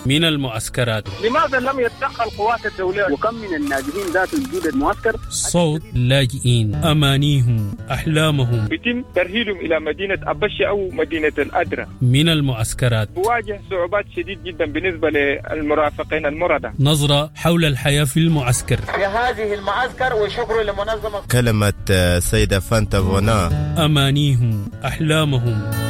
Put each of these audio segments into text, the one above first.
من المعسكرات. لماذا لم يتدخل قوات الدولية؟ وكم من النازحين ذات وجود المعسكر؟ صوت لاجئين، أمانيهم، أحلامهم. بيتم ترحيلهم إلى مدينة أبشي أو مدينة الأدرة. من المعسكرات. بواجه صعوبات شديد جدا بالنسبة للمرافقين المرضى. نظرة حول الحياة في المعسكر. في هذه المعسكر وشكر لمنظمة. كلمة سيدة فانتا فونا. أمانيهم، أحلامهم.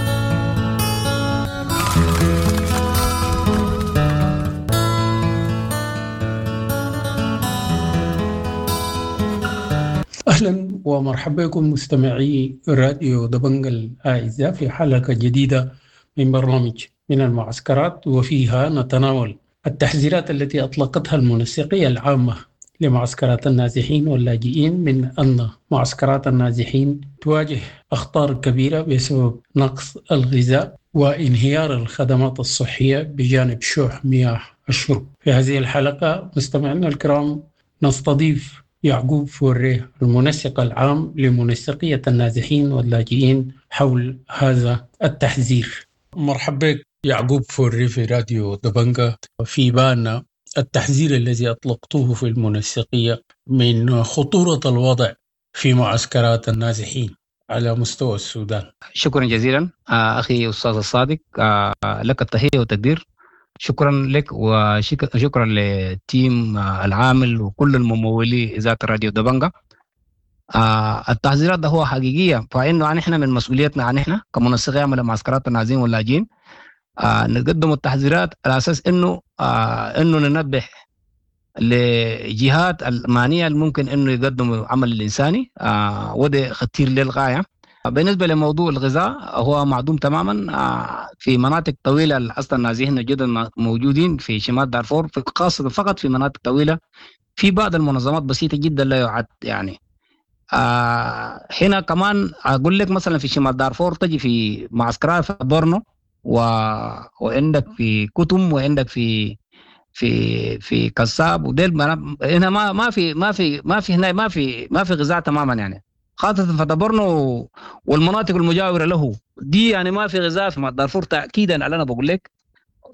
أهلا ومرحبا بكم مستمعي راديو دبنج الأعزاء في حلقة جديدة من برنامج من المعسكرات، وفيها نتناول التحذيرات التي أطلقتها المنسقية العامة لمعسكرات النازحين واللاجئين من أن معسكرات النازحين تواجه أخطار كبيرة بسبب نقص الغذاء وانهيار الخدمات الصحية بجانب شح مياه الشرب. في هذه الحلقة مستمعينا الكرام نستضيف يعقوب فوريه المنسق العام لمنسقية النازحين واللاجئين حول هذا التحذير. مرحبا بك يعقوب فوريه في راديو دبنجة. في بانا التحذير الذي أطلقته في المنسقية من خطورة الوضع في معسكرات النازحين على مستوى السودان. شكرا جزيلا أخي أستاذ الصادق، لك التحية والتقدير. شكرا لك وشكرا للتيم العامل وكل الممولي إذاعة راديو دبنجة. التحذيرات ده هو حقيقية، فإنه نحن من مسؤوليتنا نحن كمنسقية عمل معسكرات النازحين واللاجئين نقدم التحذيرات على أساس إنه ننبه لجهات المعنية الممكن إنه يقدموا عمل الإنساني، وده خطير للغاية. بالنسبة لموضوع الغذاء هو معدوم تماما في مناطق طويلة. أصلا النازحين الجدد موجودين في شمال دارفور، خاصة فقط في مناطق طويلة، في بعض المنظمات بسيطة جدا لا يعد يعني. هنا كمان أقول لك مثلا في شمال دارفور تجي في معسكرات في بورنو وعندك في كتم وعندك في في في كساب وديل، هنا ما في ما في ما في هنا ما في ما في غذاء تماما يعني، خاصة في بورنو والمناطق المجاورة له دي يعني ما في غذاء في دارفور تأكيدا على أنا بقول لك.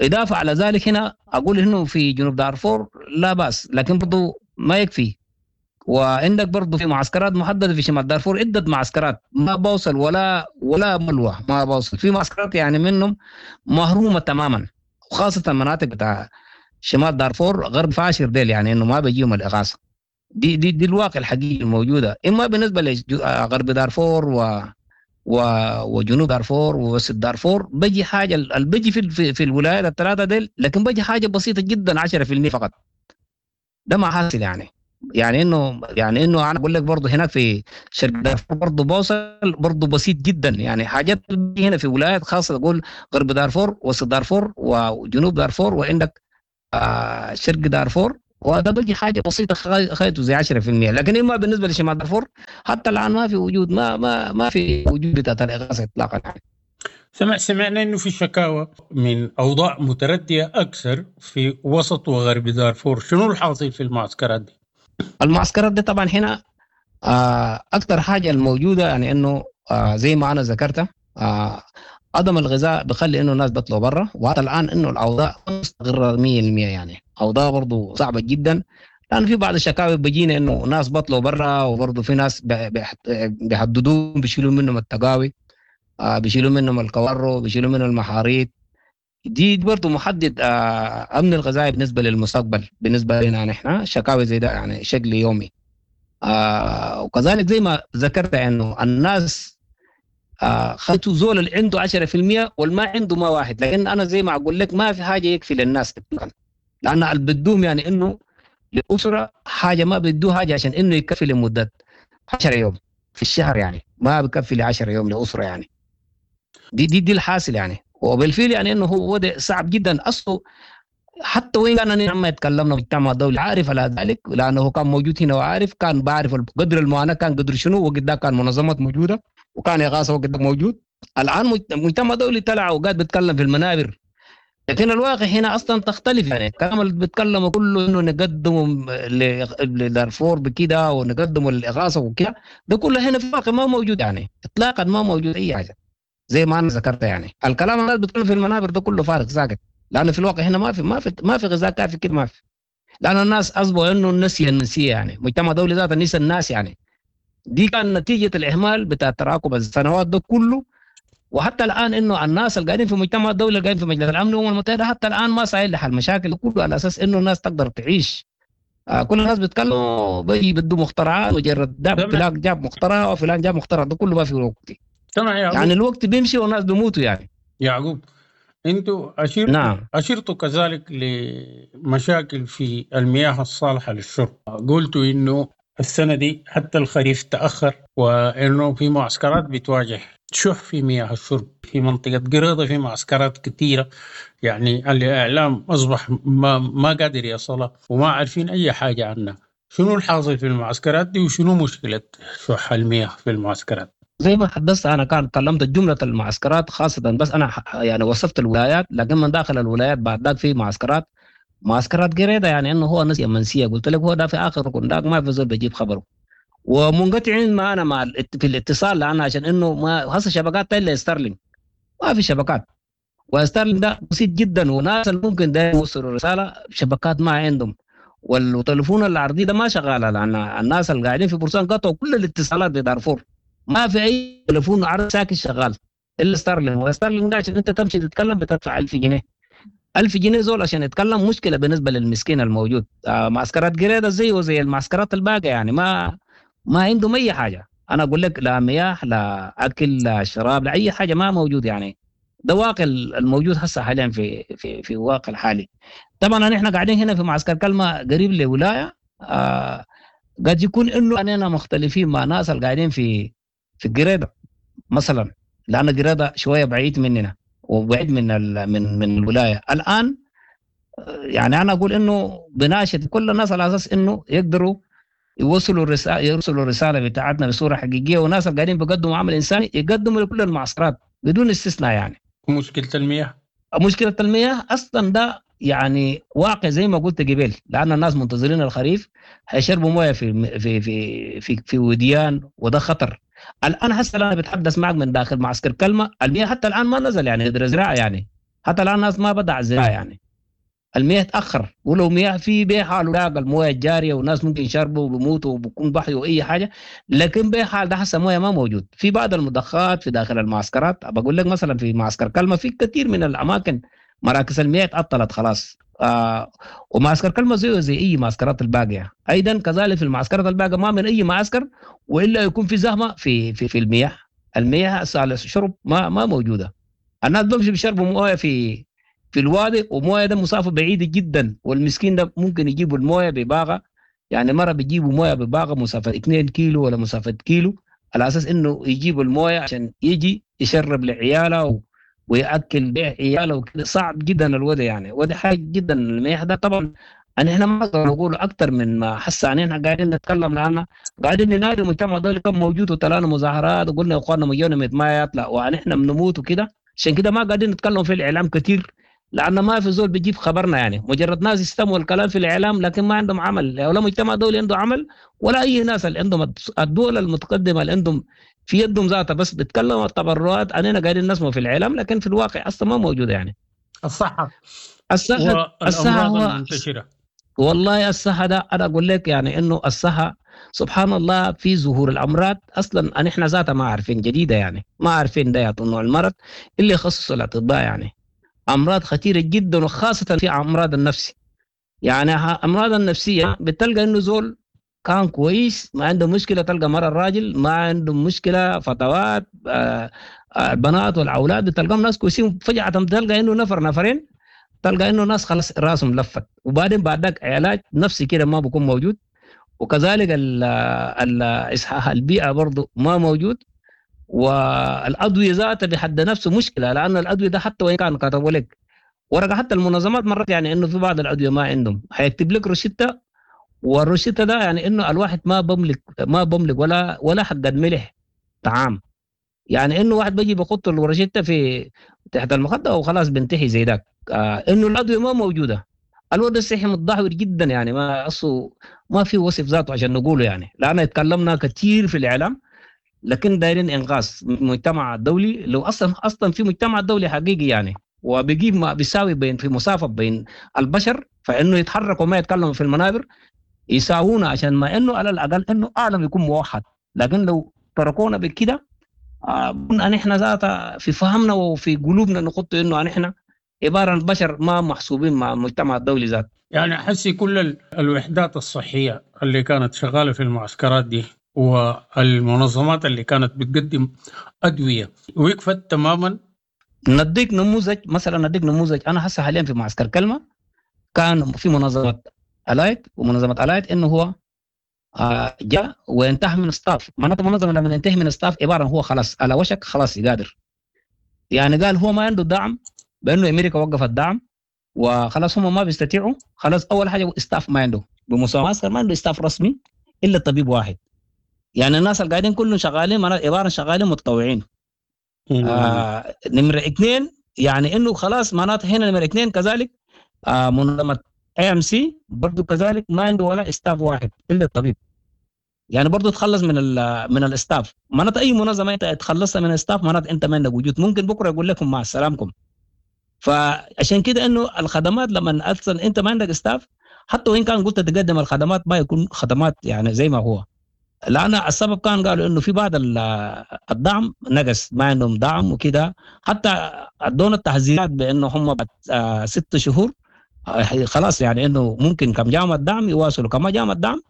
إضافة على ذلك هنا أقول إنه في جنوب دارفور لا بأس، لكن برضو ما يكفي. وعندك برضو في معسكرات محددة في شمال دارفور، عدة معسكرات ما بوصل ولا ملوى ما بوصل، في معسكرات يعني منهم مهرومة تماما، وخاصة مناطق بتاع شمال دارفور غرب فاشر ديل يعني إنه ما بيجيهم الإغاثة. دي دي دي الواقع الحقيقي الموجودة. اما بالنسبة لغرب دارفور وجنوب دارفور ووسط دارفور بيجي حاجة، بيجي في الولايات الثلاثة ديل، لكن بيجي حاجة بسيطة جدا 10% فقط. ده ما حاصل يعني، يعني انه انا اقول لك برضه هناك في شرق دارفور برضه بوصل برضه بسيط جدا يعني، حاجات هنا في ولايات خاصة اقول غرب دارفور وسط دارفور وجنوب دارفور وعندك شرق دارفور، وهذا بيجي حاجة بسيطة خيطه زي 10%. لكن اما بالنسبة لشمال دارفور حتى الان ما في وجود، ما ما ما في وجود بتاعت الاغاثة اطلاقا يعني. سمعنا انه في شكاوى من اوضاع مترديه اكثر في وسط وغرب دارفور، شنو الحاصل في المعسكرات دي؟ المعسكرات دي طبعا هنا اكثر حاجة الموجودة يعني انه زي ما انا ذكرت عدم الغذاء بخلي انه الناس بيطلعوا برا، وحتى الان انه الاوضاع مستقره 100% يعني، اوضاع برضه صعبة جدا، لان في بعض الشكاوي بيجينا انه ناس بطلوا برا، وبرضه في ناس بيحددوهم، بيشيلوا منهم التقاوي، بيشيلوا منهم الكوارو، بيشيلوا منهم المحاريت. دي برضه محدد امن الغذائي بالنسبة للمستقبل بالنسبة لنا نحن، شكاوي زي ده يعني شكل يومي. وكذلك زي ما ذكرت انه الناس خليته زول اللي عنده 10% والما عنده ما واحد، لكن انا زي ما اقول لك ما في حاجة يكفي للناس اطلاقا، لان اللي بدوهم يعني انه للاسرة حاجة ما بدوه حاجة عشان انه يكفي لمدة 10 يوم في الشهر يعني، ما بكفي ل 10 يوم لاسرة يعني. دي دي دي الحاصل يعني، وبالفعل يعني انه هو وضع صعب جدا اصله. حتى وين كان لما يتكلمنا مجتمع الدولي عارف على ذلك، لانه كان موجود هنا وعارف، كان بعرف قدر المعاناة كان قدر شنو، وقد كان منظمات موجودة وكان إغاثة وقت موجود. الآن مجتمع دولي طلع وقاعد بيتكلم في المنابر، لكن الواقع هنا أصلا تختلف يعني. الكلام اللي بيتكلمه كله إنه نقدمه لدارفور بكده ونقدمه للإغاثة وكده، ده كله هنا في الواقع ما موجود يعني، إطلاقا ما موجود أي حاجة زي ما أنا ذكرت يعني. الكلام اللي بيتكلم في المنابر ده كله فارغ ساكت. لانه في الواقع هنا ما في غذاء كافي كده، ما في، لان الناس اصبحوا انه النسي النسيه يعني، مجتمع دولي ذاته نسى الناس يعني. دي كان نتيجة الاهمال بتاع تراكم السنوات ده كله، وحتى الان انه الناس اللي قاعدين في مجتمع الدولي اللي قاعدين في مجلس الامن والامم المتحدة حتى الان ما سايل لحل المشاكل كله على اساس انه الناس تقدر تعيش. كل الناس بيتكلموا بيدوا مخترعات، مجرد ده فلان جاب مخترع وفلان جاب مخترع، ده كله ما في وقت. يعني الوقت بيمشي والناس بيموتوا يعني. يعقوب، انتوا نعم. اشرتوا كذلك لمشاكل في المياه الصالحة للشرب، قلتوا انه السنة دي حتى الخريف تاخر، وانه في معسكرات بتواجه شح في مياه الشرب في منطقة قريضه، في معسكرات كثيرة يعني الاعلام اصبح ما قادر يصلها وما عارفين اي حاجة عنها. شنو الحاصل في المعسكرات دي وشنو مشكلة شح المياه في المعسكرات؟ زي ما حدثت انا كان كلمت جملة المعسكرات خاصة، بس انا يعني وصفت الولايات، لكن من داخل الولايات بعد ذاك في معسكرات قريده يعني انه هو نسيه منسية، قلت لك هو ده في اخر ركن ذاك ما في زول بيجيب خبره، ومنقطعين معنا مع في الاتصال، لان عشان انه ما هسه شبكات الا ستارلينك، ما في شبكات، وستارلينك ده بسيط جدا، وناس اللي ممكن ده يوصلوا رسالة شبكات ما عندهم، والتليفون العرضي ده ما شغالة، لان الناس اللي قاعدين في بورسان قطعوا كل الاتصالات بدارفور، ما في اي تليفون عرض ساكن شغال الا ستارلينك. وستارلينك ده عشان انت تمشي تتكلم بتدفع 1000 جنيه، 1000 جنيه زول عشان يتكلم مشكلة بالنسبة للمسكين الموجود. معسكرات قريده زيه وزي المعسكرات الباقية يعني، ما عندهم اي حاجة. انا اقول لك لا مياه لا اكل لا شراب لا اي حاجة ما موجود يعني. ده واقع الموجود هسه حاليا في في في الواقع الحالي. طبعا نحن قاعدين هنا في معسكر كلمة قريب لولاية، قد يكون انه اننا مختلفين مع ناس اللي قاعدين في قريده مثلا، لان قريده شوية بعيد مننا وبعيد من من الولاية الان. يعني انا اقول انه بناشد كل الناس على اساس انه يقدروا يوصلوا الرسالة، يرسلوا الرسالة بتاعتنا بصورة حقيقية، وناس اللي قاعدين بيقدموا عمل انساني يقدموا لكل المعسكرات بدون استثناء يعني. مشكلة المياه، مشكلة المياه اصلا ده يعني واقع زي ما قلت قبل، لان الناس منتظرين الخريف هيشربوا مويه في في في في, في وديان، وده خطر. الان هسه انا بتحدث معك من داخل معسكر كلمة، المياه حتى الان ما نزل يعني زراعة يعني، حتى الان الناس ما بدا الزراعة يعني، المياه تاخر، ولو مياه في بيحال لاقى المويه الجارية والناس ممكن يشربوا وبيموتوا وبكون بحي واي حاجة، لكن بيحال ده هسه مويه ما موجود. في بعض المضخات في داخل المعسكرات، بقول لك مثلا في معسكر كلمة في كثير من الاماكن مراكز المياه تعطلت خلاص. ومعسكر كلمة زيه زي اي معسكرات الباقية، ايضا كذلك في المعسكرات الباقية ما من اي معسكر والا يكون في زحمة في في في المياه. المياه الشرب ما موجودة، الناس بمشي بيشربوا مويه في الوادي، ومويه ده مسافة بعيدة جدا، والمسكين ده ممكن يجيبوا المويه بباغه يعني، مرة بيجيبوا مويه بباغه مسافة 2 كيلو ولا مسافة كيلو، على اساس انه يجيبوا المويه عشان يجي يشرب لعياله وياكل بيع عياله وكده. صعب جدا الوضع يعني، وده حاجة جدا المياه ده. طبعا احنا ما نقدر نقول اكثر من ما حس علينا، قاعدين نتكلم لان قاعدين ننادي المجتمع الدولي كان موجود، وطلعنا مظاهرات وقلنا يا اخواننا مليون ما يطلع ونحن بنموت وكده، عشان كده ما قاعدين نتكلم في الاعلام كثير، لان ما في زول بيجيب خبرنا يعني، مجرد ناس يستمعوا الكلام في الاعلام لكن ما عندهم عمل، ولا مجتمع دولي عنده عمل، ولا اي ناس اللي عندهم الدول المتقدمة اللي عندهم في يدهم ذاتها بس بيتكلموا التبرعات، علينا قاعدين نسمع في الاعلام لكن في الواقع اصلا ما موجودة يعني. الصحة الصحة المنتشرة، والله الصحة ده انا اقول لك يعني انه الصحة سبحان الله في ظهور الامراض اصلا احنا ذاتها ما عارفين جديدة يعني، ما عارفين ده نوع المرض اللي يخصصه الاطباء يعني، امراض خطيرة جدا، وخاصة في امراض النفسي يعني. امراض النفسية بتلقى انه زول كان كويس ما عنده مشكلة، تلقى مرة الراجل ما عنده مشكلة، فتوات البنات والاولاد بتلقاهم ناس كويسين، فجاة تلقى انه نفر نفرين، تلقى انه ناس خلاص راسهم لفت، وبعدين بعد ذاك علاج نفسي كده ما بيكون موجود، وكذلك اصحاح البيئة برضه ما موجود، والادوية ذاتها بحد نفسه مشكلة، لان الادوية ده حتى وان كان كتبوا لك ورقة، حتى المنظمات مرات يعني انه في بعض الادوية ما عندهم، حيكتب لك روشته، والروشته ده يعني انه الواحد ما بملك ولا حق ملح طعام يعني، انه واحد بيجي بيحط الروشته في تحت المخدة وخلاص بنتهي زي ذاك. انه الادوية ما موجودة، الوضع الصحي متدهور جدا يعني، ما اصله ما في وصف ذاته عشان نقوله يعني، لان اتكلمنا كثير في الاعلام، لكن دايرين انقاذ المجتمع الدولي، لو اصلا في مجتمع دولي حقيقي يعني. وبيجيب ما بيساوي بين في مسافة بين البشر، فانه يتحركوا وما يتكلموا في المنابر يساوونا، عشان ما انه على الاقل انه عالم يكون موحد. لكن لو تركونا بكده نحن ذاتها في فهمنا وفي قلوبنا نخط انه نحن عبارة عن بشر ما محسوبين مع المجتمع الدولي ذات. يعني حسي كل الوحدات الصحية اللي كانت شغالة في المعسكرات دي والمنظمات اللي كانت بتقدم ادوية وقفت تماما. نديك نموذج مثلا، نديك نموذج، انا هسه حاليا في معسكر كلمة كان في منظمة الايت، ومنظمة الايت انه هو جاء وانتهى من staff. معناته المنظمة لما ينتهي من staff عبارة هو خلاص على وشك خلاص يقادر. يعني قال هو ما عنده دعم، بانه امريكا وقفت دعم وخلاص هم ما بيستطيعوا. خلاص اول حاجة staff ما عنده بمعسكر، ما عنده staff رسمي الا طبيب واحد. يعني الناس اللي قاعدين كلهم شغالين عبارة شغالين متطوعين. نمره اثنين يعني انه خلاص معناته هنا نمره اثنين كذلك منظمة IMC برضه كذلك ما عنده ولا staff واحد الا الطبيب. يعني برضه تخلص من ال staff. معناته اي منظمة انت تخلصت من ال staff معناته انت ما عندك وجود، ممكن بكره يقول لكم مع السلامكم. فعشان كده انه الخدمات لما اصلا انت ما عندك staff، حتى وان كان قلت تقدم الخدمات ما يكون خدمات يعني زي ما هو. لان السبب كان قالوا انه في بعض الدعم نقص، ما عندهم دعم وكده. حتى ادونا التحذيرات بانه هم بعد 6 شهور خلاص يعني انه ممكن كم جامعة الدعم يواصلوا، كما جامعة الدعم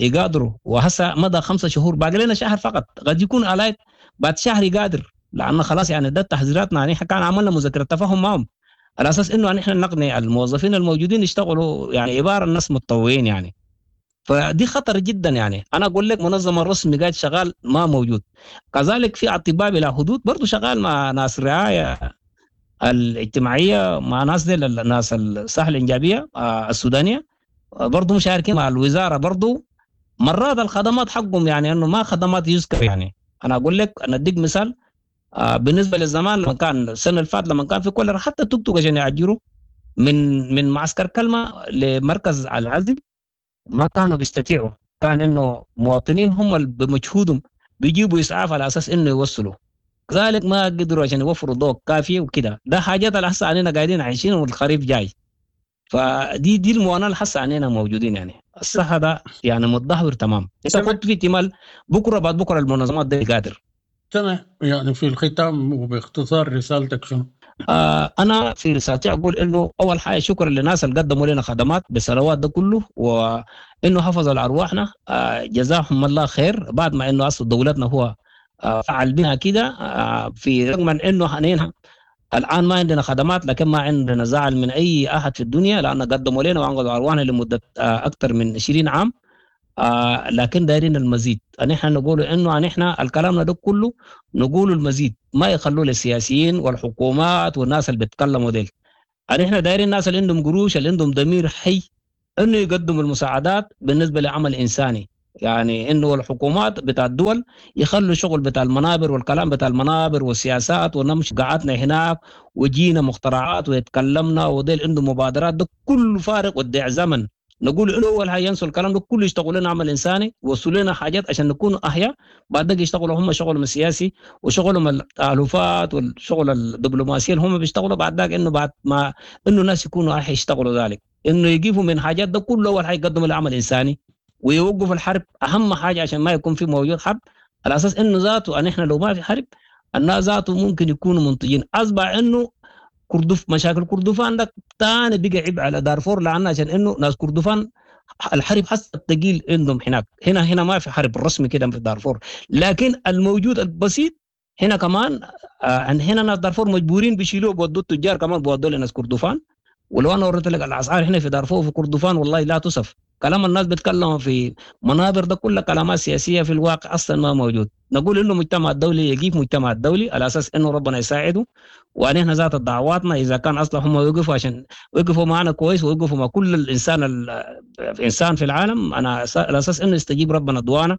يقادروا. وهسه مدى 5 شهور، باقي لنا شهر فقط، قد يكون الايت بعد شهر يقادر، لانه خلاص يعني ده تحذيراتنا. يعني كان عملنا مذكره تفاهم معهم على اساس انه نحن نقنع الموظفين الموجودين يشتغلوا، يعني عبارة الناس متطوعين يعني. فدي خطر جدا. يعني انا اقول لك منظمة رسمي قاعد شغال ما موجود. كذلك في اطباء بلا حدود برضه شغال مع ناس الرعاية الاجتماعية، مع ناس دي ناس الصحة الانجابيه السودانية برضه مشاركين مع الوزارة برضه. مرات الخدمات حقهم يعني انه ما خدمات يذكر. يعني انا اقول لك، انا اديك مثال بالنسبة للزمان لما كان السنة اللي فاتت لما كان في كوليرا، حتى توك توك عشان يعجروا من معسكر كلمة لمركز العزل ما كانوا بيستطيعوا. كان انه مواطنين هم بمجهودهم بيجيبوا اسعاف على اساس انه يوصلوا، كذلك ما قدروا عشان يوفروا ضوء كافي وكده. ده حاجات اللي هسه علينا قاعدين عايشين والخريف جاي. فدي دي المعاناة اللي هسه علينا موجودين. يعني الصحة ده يعني متدهور تمام. انت كنت في احتمال بكره بعد بكره المنظمات دي قادر. تمام. يعني في الختام وباختصار رسالتك شنو؟ انا في رسالتي اقول انه اول حاجة شكرا للناس اللي قدموا لنا خدمات بالسنوات ده كله، وانه حفظوا على ارواحنا، جزاهم الله خير. بعد ما انه اصل دولتنا هو فعل بها كده، في رغم من انه حنينها الان ما عندنا خدمات، لكن ما عندنا زعل من اي احد في الدنيا، لان قدموا لنا وانقذوا ارواحنا لمدة اكثر من 20 عام. لكن دايرين المزيد. نحن نقول انه نحن الكلام ده كله نقول المزيد، ما يخلوه للسياسيين والحكومات والناس اللي بيتكلموا ديل. نحن دايرين الناس اللي عندهم قروش، اللي عندهم ضمير حي، انه يقدموا المساعدات بالنسبة لعمل انساني. يعني انه الحكومات بتاع الدول يخلوا شغل بتاع المنابر والكلام بتاع المنابر والسياسات، ونمشي قعدنا هناك وجينا مخترعات ويتكلمنا وديل عندهم مبادرات، ده كله فارغ ودع زمن. نقول انه اول حاجة ينسوا الكلام ده كله، يشتغلوا لنا عمل انساني، وصلوا لنا حاجات عشان نكون احياء. بعد ذلك يشتغلوا هم شغلهم السياسي وشغلهم التالفات والشغل الدبلوماسي اللي هم بيشتغلوا. بعد ذلك انه بعد ما انه الناس يكونوا احياء يشتغلوا ذلك، انه يقفوا من حاجات ده كله. اول حاجة يقدموا العمل الانساني ويوقفوا الحرب، اهم حاجة عشان ما يكون في موجود حرب، على اساس انه ذاته ان احنا لو ما في حرب الناس ذاته ممكن يكونوا منتجين. اصبح انه كردف مشاكل كردفان ده ثاني بقى عبء على دارفور، لان عشان انه ناس كردفان الحرب حس الثقيل عندهم هناك. هنا ما في حرب رسمي كده في دارفور، لكن الموجود البسيط هنا كمان هنا ناس دارفور مجبورين بيشيلوه بودوا التجار كمان بودوا لناس كردفان. ولو انا وريت لك الاسعار هنا في دارفور وفي كردفان والله لا تصف. كلام الناس بيتكلموا في منابر ده كله كلامات سياسية، في الواقع اصلا ما موجود. نقول انه المجتمع الدولي يجيب مجتمع الدولي على اساس انه ربنا يساعده، ونحن ذات دعواتنا اذا كان اصلا هم يوقفوا عشان وقفوا معنا كويس ويوقفوا مع كل الانسان الانسان في العالم، انا على اساس انه يستجيب ربنا دعانا.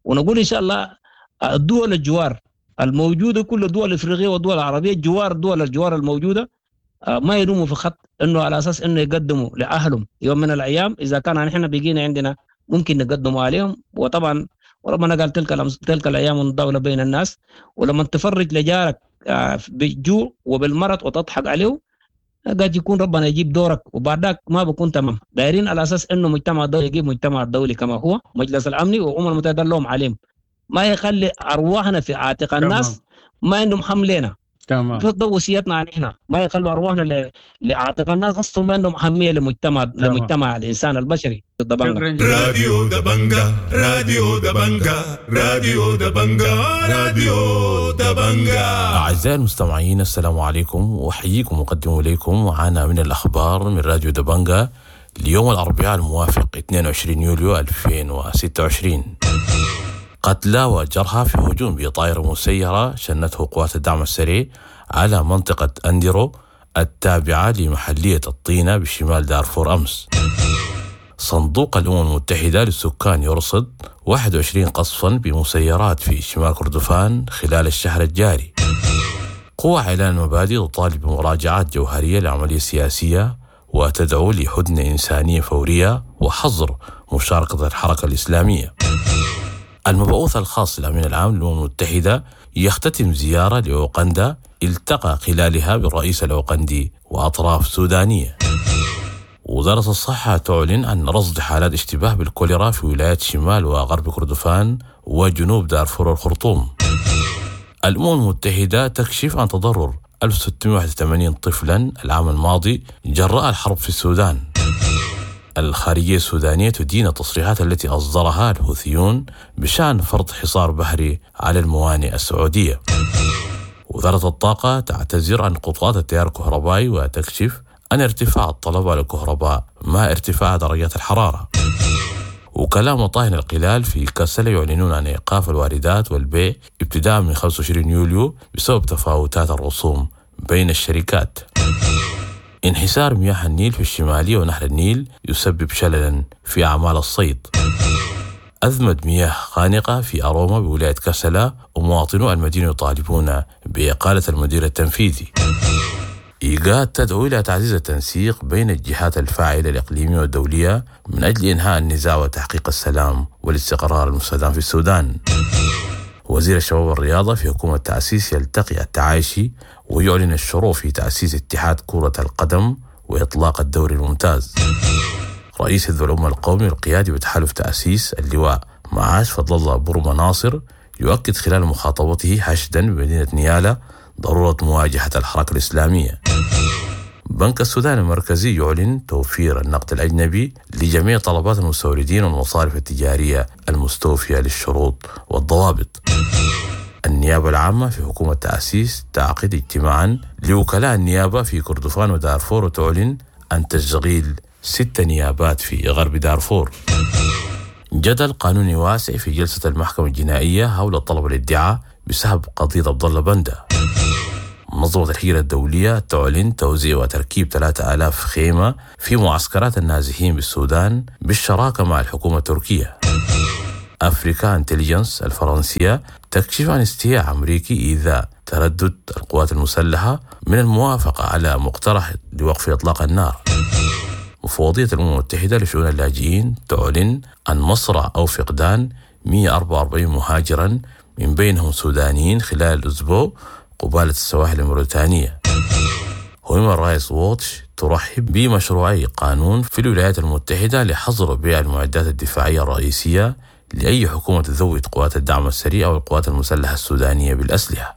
ونقول ان شاء الله الدول الجوار الموجودة، كل الدول الافريقية والدول العربية جوار دول الجوار الموجودة، ما يلوموا في خط انه على اساس انه يقدموا لاهلهم يوم من الايام. اذا كان نحن بقينا عندنا ممكن نقدموا عليهم. وطبعا وربنا قال تلك الايام الدولة بين الناس، ولما تفرج لجارك بالجوع وبالمرض وتضحك عليه، قد يكون ربنا يجيب دورك وبعدك ما بكون تمام. دايرين على اساس انه مجتمع الدولي يجيب مجتمع الدولي كما هو مجلس الامني والامم المتحدة لهم عليهم، ما يخلي ارواحنا في عاتق الناس ما عندهم حملنا. تمام. ده وصيتنا نحن، ما يخلوا ارواحنا لعاتق الناس اصلا ما عندهم اهمية لمجتمع الانسان البشري. دبنجة. راديو دبنجة، راديو دبنجة، راديو دبنجة، راديو دبنجة. أعزائي المستمعين، السلام عليكم، وأحييكم وأقدم إليكم معنا من الأخبار من راديو دبنجة ليوم الأربعاء الموافق 22 يوليو 2026. قتلى وجرحى في هجوم بطائرة مسيرة شنته قوات الدعم السريع على منطقة أنديرو التابعة لمحلية الطينة بشمال دارفور أمس. صندوق الأمم المتحدة للسكان يرصد 21 قصفا بمسيرات في شمال كردفان خلال الشهر الجاري. قوى إعلان المبادئ تطالب بمراجعات جوهرية للعملية السياسية وتدعو لهدنة إنسانية فورية وحظر مشاركة الحركة الإسلامية. المبعوث الخاص للأمين العام للأمم المتحدة يختتم زيارة لأوغندا التقى خلالها بالرئيس الأوغندي وأطراف سودانية. وزارة الصحة تعلن عن رصد حالات اشتباه بالكوليرا في ولايات شمال وغرب كردفان وجنوب دارفور والخرطوم. الأمم المتحدة تكشف عن تضرر 1681 طفلا العام الماضي جراء الحرب في السودان. الخارجية السودانية تدين التصريحات التي أصدرها الحوثيون بشأن فرض حصار بحري على الموانئ السعودية. وزارة الطاقة تعتذر عن قطعات التيار الكهربائي وتكشف عن ارتفاع الطلب على الكهرباء مع ارتفاع درجات الحرارة. وكلاء مطاهن القلال في كسل يعلنون عن إيقاف الواردات والبيع ابتداء من 25 يوليو بسبب تفاوتات الرسوم بين الشركات. انحسار مياه النيل في الشمالية ونهر النيل يسبب شللا في أعمال الصيد. أزمة مياه خانقة في أروما بولاية كسلا، ومواطنو المدينة يطالبون بإقالة المدير التنفيذي. إيجاد تدعو إلى تعزيز التنسيق بين الجهات الفاعلة الإقليمية والدولية من أجل إنهاء النزاع وتحقيق السلام والاستقرار المستدام في السودان. وزير الشباب والرياضة في حكومة تأسيس يلتقي التعايشي ويعلن الشروع في تأسيس اتحاد كرة القدم وإطلاق الدوري الممتاز. رئيس حزب الأمة القومي القيادي بتحالف تأسيس اللواء معاش فضل الله برما ناصر يؤكد خلال مخاطبته حشدا بمدينة نيالا ضرورة مواجهة الحركة الإسلامية. بنك السودان المركزي يعلن توفير النقد الأجنبي لجميع طلبات المستوردين والمصارف التجارية المستوفية للشروط والضوابط. النيابة العامة في حكومة تأسيس تعقد اجتماعا لوكلاء النيابة في كردفان ودارفور وتعلن عن تشغيل 6 نيابات في غرب دارفور. جدل قانوني واسع في جلسة المحكمة الجنائية حول طلب الادعاء بسحب قضية عبد الله بنده. منظمة الهجرة الدولية تعلن توزيع وتركيب 3000 خيمة في معسكرات النازحين بالسودان بالشراكة مع الحكومة التركية. Africa Intelligence الفرنسية تكشف عن استياء أمريكي إذا تردد القوات المسلحة من الموافقة على مقترح لوقف إطلاق النار. مفوضية الأمم المتحدة لشؤون اللاجئين تعلن عن مصرع أو فقدان 144 مهاجرا من بينهم سودانيين خلال الأسبوع قبالة السواحل الموريتانية. هيومن رايتس ووتش ترحب بمشروعي قانون في الولايات المتحدة لحظر بيع المعدات الدفاعية الرئيسية لأي حكومة تزود قوات الدعم السريع أو القوات المسلحة السودانية بالأسلحة.